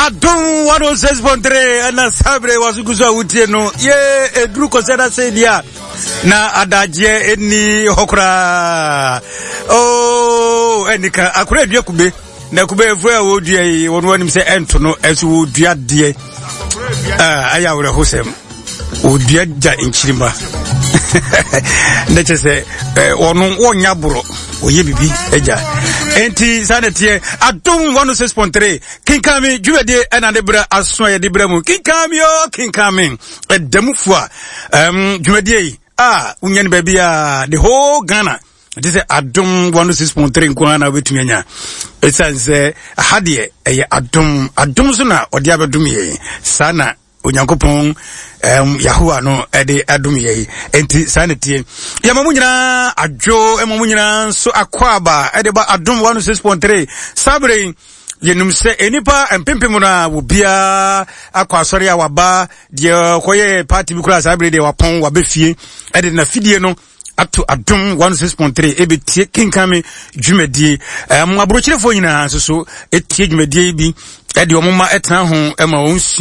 Adom 106.3 ɛna saa berɛ waso gu so a wotie no yɛ ɛduru kɔsɛ da sɛ deɛ a na adagyeɛ ɛnni hɔ koraa oh, ɛnika akora adua kube na kube afuo a wɔdua yi wɔn anim sɛ ɛnto no ɛso wɔdua deɛ ɛyɛ awerɛhosɛm wɔdua gya nkyirima na kyɛ sɛ wɔno wɔnya borɔ wɔyɛ biribi agya enti saa na teɛ Adom 106.3 kenkan me dwumadie ɛna ne berɛ aso a yɛde berɛ mu kenkan me o kenkan me ɛda mu fo a dwumadie yi a wonya no baabi a the whole Ghana ɛte sɛ Adom 106.3 nko ara na wobɛtumi anya ɛsiane sɛ aha deɛ ɛyɛ adom adom so na ɔde abɛdom yɛn saa na Onyankopɔn Yahowa no ɛde adom yɛ yi enti saa na tie yɛma mo nyinaa adwo ɛma mo nyinaa nso akɔ aba ɛde ba Adom 106.3 saa bere yi yɛnum sɛ nnipa mpempem no a obiara akɔ asɔre a waba deɛ ɔkɔyɛ party bi koraa saa bere deɛ wapɔn wabɛ fie ɛde na fidie no ato Adom 106.3 ɛbɛtie kenkan me dwumadie. Aburokyerefoɔ nyinaa nso so ɛtie dwumadie yi bi ɛde wɔn ma ɛtena ho ɛma wɔn sua.